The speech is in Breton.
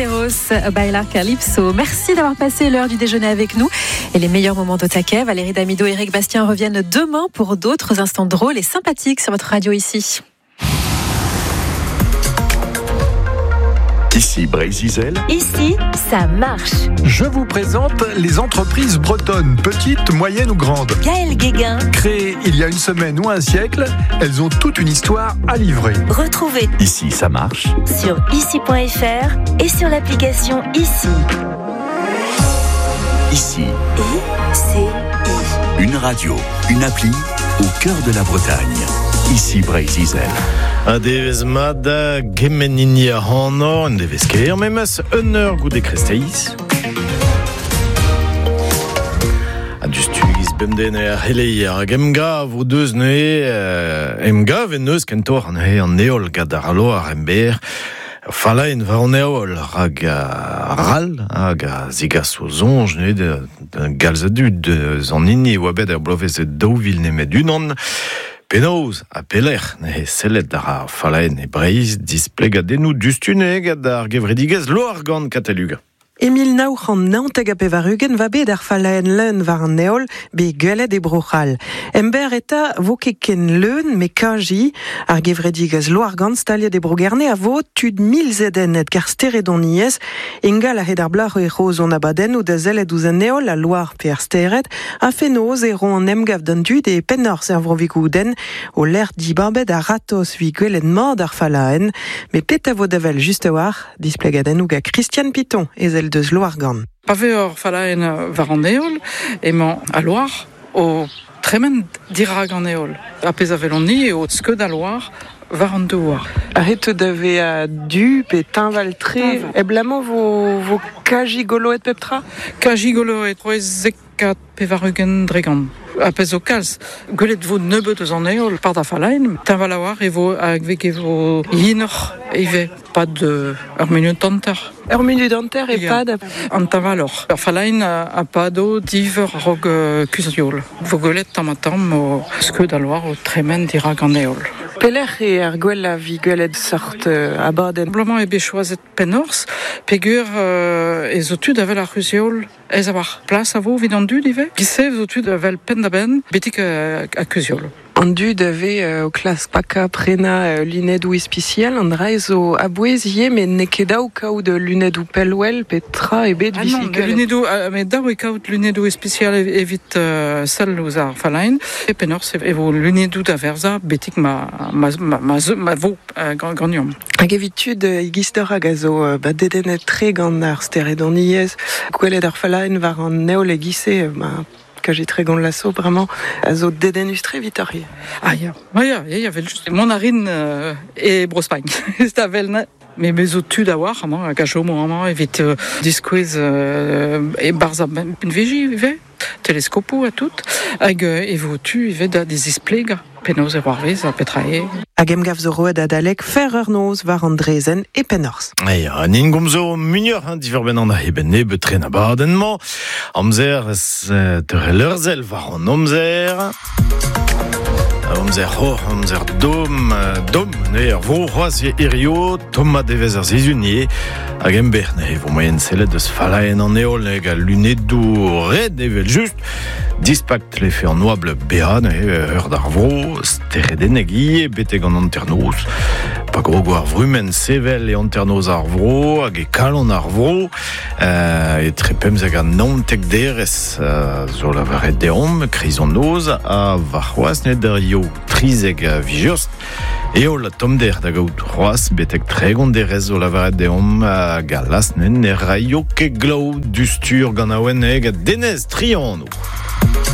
Mederos, Baila Calypso. Merci d'avoir passé l'heure du déjeuner avec nous et les meilleurs moments de taquet. Valérie Damido et Eric Bastien reviennent demain pour d'autres instants drôles et sympathiques sur votre radio ici. Ici Brésil. Ici, ça marche. Je vous présente les entreprises bretonnes, petites, moyennes ou grandes. Gaël Guéguin. Créées il y a une semaine ou un siècle, elles ont toute une histoire à livrer. Retrouvez Ici, ça marche. sur ici.fr et sur l'application Ici. Ici, I C I. une radio, une appli au cœur de la Bretagne. Ici Brésil. Un devez mat da gement hini ac'hanoc'h, un devez kaer memes, un eur goude kresteiz. Ha diouzhtu e-giz bemdez neuze ar c'heleier hag emgav o deus neuze, emgav en deus kentoc'h neuze an heol gant ar loar emberr. Ur fallaenn war an heol rak ral hag a zegaso soñj neuze da galz a dud eus an hini e oa bet er bloavezh 2000 nemet unan. Penaos ha pelec'h neuze sellet àr ar fallaenn e Breizh, displegadennoù diouzhtu neuze gant ar gevredigezh Loargann Kataluga. E 1999 va bet ar fallaenn leun war an heol bet gwelet e Bro-C'hall. Emberr eta vo ket ken leun met kaji. Ar gevredigezh Loargann staliet e Bro-Gerne a vo tud milzedennet g'ar steredoniezh. Ingal a-hed ar bloaz e ro zon abadennoù da sellet ouzh an heol, al loar pe ar stered. Ha fenoz e ro an emgav d'an dud e Pennorzh er Vro-Vigoudenn, o lec'h dibabet a-ratozh evit gwelet mat ar fallaenn. Met petra vo da wel just a-walc'h? Displegadennoù gant Christiane Piton, ezel deus Loargann. Pa vez ur fallaenn war an heol, emañ al loar o tremen dirak an heol. Ar pezh a welomp-ni eo skeud al loar war an douar. Arretet da vezañ du pe teñval-tre, abalamour vo, vo kaji goloet pep tra? Kaji goloet, c'hwezek ha 80%. Ar pezh zo kalz, gwelet vo nebeut eus an heol par da fallaenn. Teñval a-walc'h e vo hag e vo yenoc'h ivez, pad ur munut hanter. Ur munut hanter e-pad? An teñvaloc'h. Ur fallaenn a pado div eur a-raok kuzh-heol. Vo gwelet tamm-ha-tamm o skeud al loar o tremen dirak an heol. Pelec'h eo ar gwellañ evit gwelet seurt abadenn? Bloaz-mañ eo bet choazet Pennorzh peogwir ez zo tu da wel ar c'huzh-heol Aes a-walc'h. Plas a vo evit an dud ivez. Giz-se zo tud vel penn-da-benn betek ar kuzul. An dud a vez o klask pakañ, prenañ lunedoù ispisial, an dra zo a-bouez ivez, met n'eo ket dav kaout lunedoù pellwel pe tra ebet Ah non, lunedoù, met dav eo kaout lunedoù ispisial evit sell ouzh ar fallaenn. E penaos e vo lunedoù da verzañ betek ma, ma, ma, ma, ma vo ganeomp. Hag evit tud e-giz-deoc'h hag a zo ba dedennet-tre gant ar steredoniezh, gwelet ar fallaenn war an heol e-giz-se, ma kaji 30 laso bremañ, a zo dedennus-tre evitoc'h ivez. Ah ya, ah ya, ya, ya, vel-just. Mont a rin e Bro-Spagn. Da wel me me zo tud a-walc'h amañ hag a chomo amañ evit diskouez e-barzh ar benvegi ivez. Teleskopoù ha tout, hag e vo tu ivez da zisplegañ penaos e c'hoarvez ha petra eo. Hag emgav zo roet adalek fer eur noz war an draezhenn e Pennorzh. Ya, an hini gomzo muioc'h hein, diwar-benn an eben nebeut tre abadenn-mañ. Amzer teurel ur sell war an amzer. Amzer c'hor, amzer domm, domm, ne ar vro c'hoazh hirio, tommañ devezh ar sizhun ivez. Hag emberr ne vo moaien sellet eus fallaenn an heol hag al lunedoù red evel-just. Dispak tlefe an oabl bezañ neuze eur d'ar vro, steredennek ivez betek an hanternoz. Pa grogo ar vrumenn sevel e hanternoz ar vro hag e kalon ar vro, etre 15 ha 19 derez zo lavaret deomp, kreiz an noz ha warc'hoazh ne d'ar yo 13 a vijost. Heol ha tommder da gaout c'hoazh betek 30 derez zo lavaret deomp hag a las ne raio ket glav du-stur gant awen hag Denez Trianoù.